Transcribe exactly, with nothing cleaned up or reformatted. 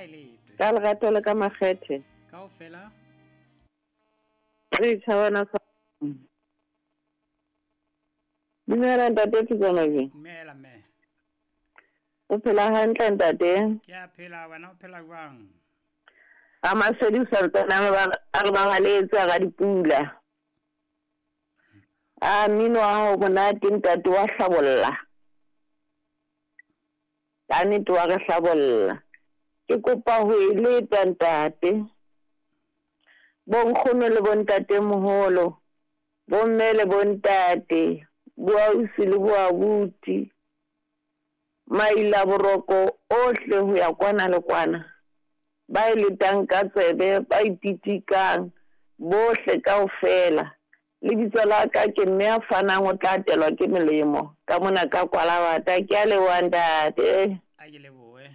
A e letwe. Ka lerato le ka makgethe. Kaofela. Re tjhabana sa. Dumela ntate Thutswana. Dumela mme. O phela hantle ntate? Ke a phela, wena o phela jwang? A masedi santsana ba a re ba baletse ga dipula. A mmino wa hao monate ntate wa hlabolla. Ka nnete wa re hlabolla. Ke kopa ho e leta ntate. Bonkgono le bontate moholo, bomme le bontate, boausi le boabuti, maila boroko ohle ho ya kwana le kwana. Ba e letang ka tsebe, ba ititikang, bohle kaofela. Lebitso la ka ke mme a fanang o tla atelwa ke melemo. Ka mona ka Kwalabata, ke a leboha ntate. A ke lebohe.